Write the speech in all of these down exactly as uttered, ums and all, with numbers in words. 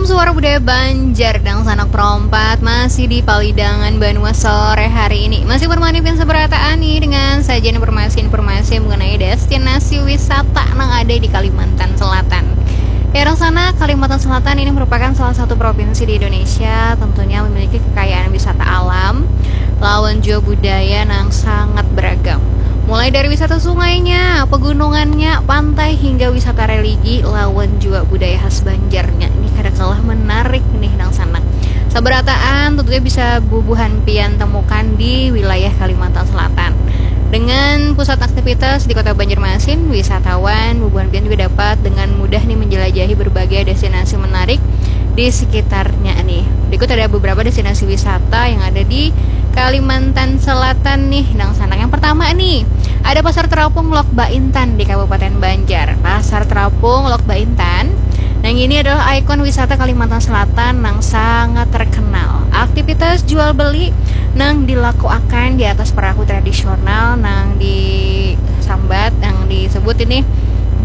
Suara Budaya Banjar dangsanak perompat masih di palidangan banua sore hari ini. Masih bermani pian sabarataan nih dengan sajian informasi-informasi mengenai destinasi wisata nang ada di Kalimantan Selatan. Ya, dangsanak, Kalimantan Selatan ini merupakan salah satu provinsi di Indonesia, tentunya memiliki kekayaan wisata alam lawan jua budaya nang sangat beragam. Mulai dari wisata sungainya, pegunungannya, pantai, hingga wisata religi lawan jua budaya khas Banjarnya. Ini kada kalah menarik nih, dangsanak. Sabarataan tentunya bisa bubuhan pian temukan di wilayah Kalimantan Selatan. Dengan pusat aktivitas di Kota Banjarmasin, wisatawan bubuhan pian juga dapat dengan mudah nih menjelajahi berbagai destinasi menarik di sekitarnya nih. Berikut ada beberapa destinasi wisata yang ada di Kalimantan Selatan nih, dangsanak. Yang pertama nih, ada Pasar Terapung Lok Baintan di Kabupaten Banjar. Pasar Terapung Lok Baintan, nang ini adalah ikon wisata Kalimantan Selatan nang sangat terkenal. Aktivitas jual beli nang dilakuakan di atas perahu tradisional nang disambat, nang disebut ini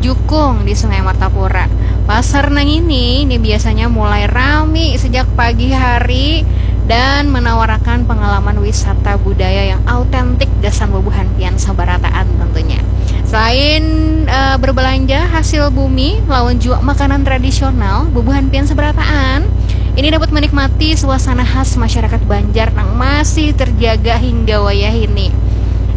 jukung di Sungai Martapura. Pasar nang ini, ini biasanya mulai rami sejak pagi hari dan menawarakan pengalaman wisata budaya yang autentik gasan bubuhan pian sabarataan tentunya. Selain eh, berbelanja hasil bumi lawan jua makanan tradisional, bubuhan pian sabarataan ini dapat menikmati suasana khas masyarakat Banjar nang masih terjaga hingga wayah ini.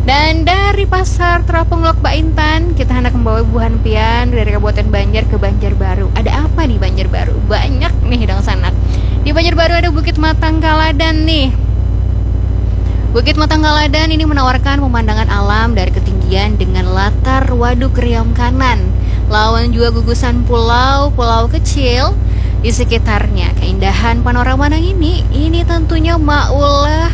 Dan dari Pasar Terapung Lok Baintan, kita hendak membawa bubuhan pian dari Kabupaten Banjar ke Banjarbaru. Ada apa di Banjarbaru? Banyak nih, dangsanak. Di Banjarbaru ada Bukit Matang Kaladan nih. Bukit Matang Kaladan ini menawarkan pemandangan alam dari ketinggian dengan latar Waduk Riam Kanan, lawan jua gugusan pulau-pulau kecil di sekitarnya. Keindahan panorama nang ini, ini tentunya maulah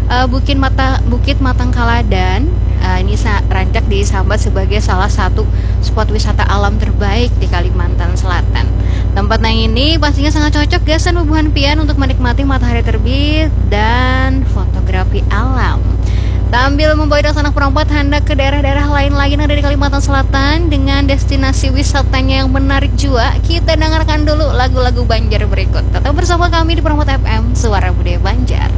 eh, Bukit Mata Bukit Matang Kaladan. Eh, ini sa- rancak disambat sebagai salah satu spot wisata alam terbaik di Kalimantan Selatan. Tempat nang ini pastinya sangat cocok gasan bubuhan pian untuk menikmati matahari terbit dan fotografi alam. Sambil membawa dangsanak perompat handak ke daerah-daerah lain lagi yang ada di Kalimantan Selatan dengan destinasi wisatanya yang menarik jua, kita dengarkan dulu lagu-lagu Banjar berikut. Tetap bersama kami di Perompat F M, Suara Budaya Banjar.